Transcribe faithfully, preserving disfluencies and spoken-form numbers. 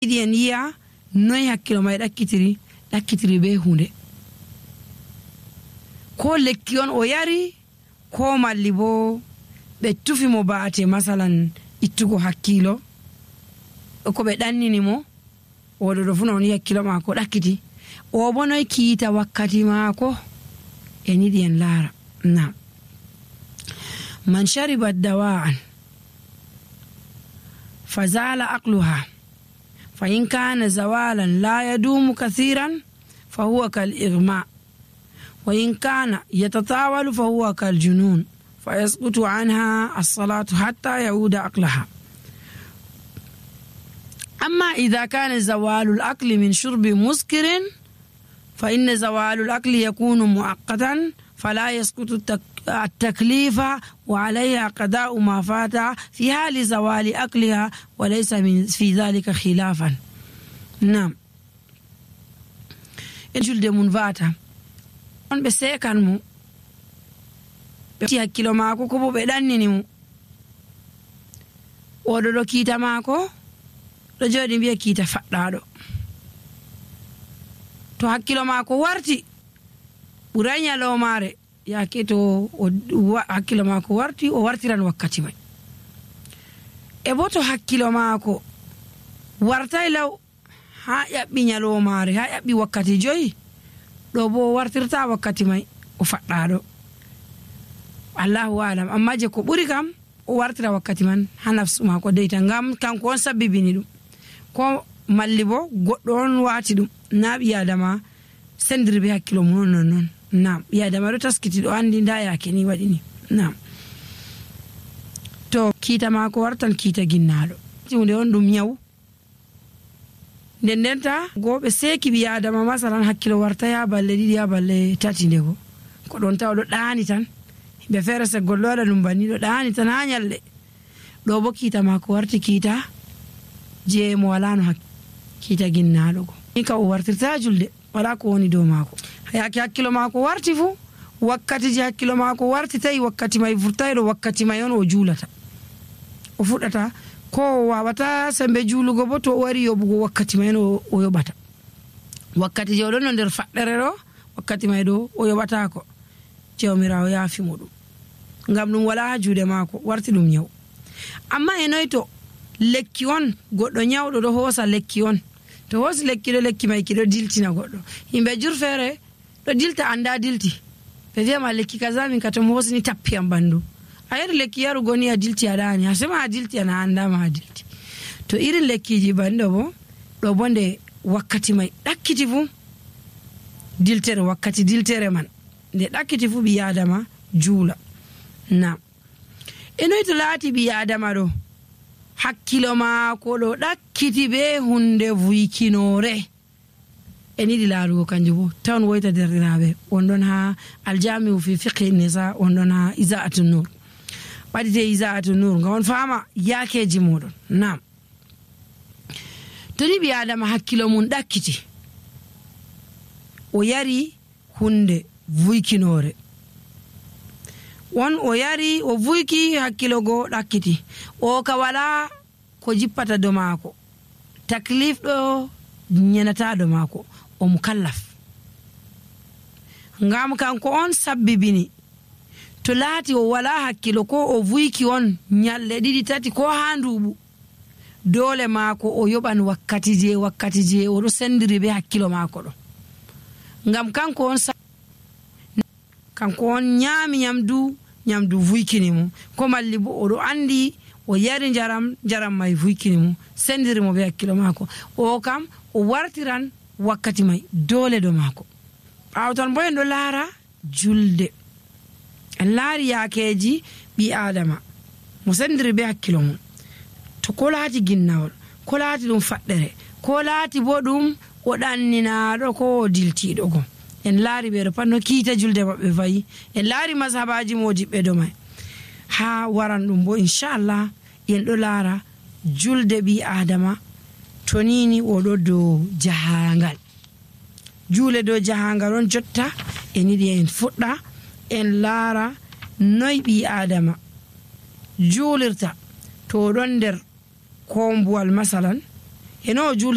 yiɗi en yi'a noy hakkilo may ɗakkitiri ɗakkitiri be hunde, ko lekki on o yari ko malli bo ɓe tufi mo ba'ate masalan ittugo hakkilo ko ɓe ɗannini mo oɗo ɗo funa on yi hakkilo maako ɗakkiti, o bo noy kiita wakkati maako en yiɗi en laara. Nam man shariba dawa'an fazala aqluha fa in kana zawalan la yadumu kathiran fa huwa kal igma wa in kana yatatawalu fa huwa kal junun fa yasqutu anha as-salatu hatta yauda aqlaha. أما إذا كان زوال الأكل من شرب مسكر فإن زوال الأكل يكون مؤقتا فلا يسقط التكليف وعليها قضاء ما فات في حال زوال أكلها وليس من في ذلك خلافا. نعم إنجل دي منفاتا on ɓe sekan mo ɓe ti hakkilo maako ko bo ɓe ɗannini mo oɗo ɗo kiita maako ɗo jooɗi mbiya kiita faɗɗaɗo, to hakkilo maako warti ɓuray nyalomare yaake to hakkilo maako warti o wartiran wakkati may, e bo to hakkilo maako wartay law ha ƴaɓɓi nyalomare ha ƴaɓɓi wakkati joyi ɗo bo wartirta wakkati may o faɗɗaɗo, allahu alam. amma je ko ɓuri kam o wartira wakkati man ha nafsu maako deyta, ngam kanko on sabbibini ɗum, ko malli bo goɗɗo on waati ɗum, na ɓi adama sendiri be hakkilo mum non non. Nam ɓi adama ɗo taskiti ɗo andi nda yaake ni waɗi ni. Nam to kiita maako wartan kiita ginnaɗo, hunde on ɗum nyawu, nden ndenta go ɓe seeki ɓi adama masalan hakkilo warta ya balle ɗiɗi ya balle tati, ndego ko ɗon tawa ɗo ɗaani tan, himɓe feere seggol ɗo waɗa ɗum banni ɗo ɗaani tan ha nyalɗe, ɗo bo kiita maako warti kiita je mo wala no hakkilo, kiita ginnaɗo go ni ka o wartirta julde wala ko woni dow maako, yaake hakkilo maako warti fu wakkati je hakkilo maako warti tawi wakkati may vurtayɗo wakkati may on o juulata, o fuɗɗata ko o wawata sembe juulugo bo to o wari yoɓugo wakkati may no o yoɓata, wakkati je oɗon no nder faɗɗere ɗo wakkati may ɗo o yoɓatako, jawmirawo yaafi mo ɗum ngam ɗum wala ha juuɗe maako, warti ɗum nyawu. amma e noy to lekki on goɗɗo nyawɗo ɗo hoosa lekki on, to hoosi lekki ɗo lekki may ki ɗo diltina goɗɗo, yimɓe jur feere ɗo dilta anda dilti, ɓe wiyama lekki kaza min ka to mo hoosini tappi am ɓanndu, a yari lekki yarugo ni a dilti aɗani a sema a dilti ana andama a dilti. to irin lekkiji banɗo bo ɗo bo nde wakkati may ɗakkiti fu diltere, wakkati diltere man nde ɗakkiti fu ɓi adama juula. na e noy to laati ɓi adama ɗo hakkilo maako ɗo ɗakkiti be hunde vuykinore, en yiɗi laarugo kanjum bo tan woyta derɗiraɓe on ɗon ha aljamiu fi fiqhi nisa, on ɗon ha isa'atu nur, ɓaɗite isa'atu nur ngam on fama yaakeji muɗum. nam to ni ɓi adama hakkilo mum ɗakkiti o yari hunde vuykinore, won o yari o vuyki hakkilo goo ɗakkiti, o ka wala ko jippata do maako, taklif ɗo nyenata do maako, o mukallaf, ngam kanko on sabbibini. to laati o wala hakkilo ko o vuyki on nyalɗe ɗiɗi tati ko ha nduuɓu, dole maako o yoɓan wakkati je wakkati je oɗo sendiri be hakkilo maako ɗo, ngam kanko on kanko on nyaami nyamdu nyamdu vuykini mo, ko malli bo oɗo andi o yari njaram njaram may vuykini mo, sendiri mo be hakkilo maako, o kam o wartiran wakkati may dole do maako. ɓaawo tan bo en ɗo laara julde, en laari yaakeji ɓi adama mo sendiri be hakkilo mum, to ko laati ginnawol, ko laati ɗum faɗɗere, ko laati bo ɗum o ɗanninaɗo ko o diltiɗo go, en laari ɓeɗo pat no kiita julde maɓɓe fayi, en laari mashabaji modiɓɓe do may, ha waran ɗum bo inchallah en ɗo laara julde ɓi adama to nini oɗo dow jahangal, juule dow jahangal on jotta en yiɗi en fuɗɗa en laara noy ɓi adama juulirta to ɗon nder kombuwal masalan, eno o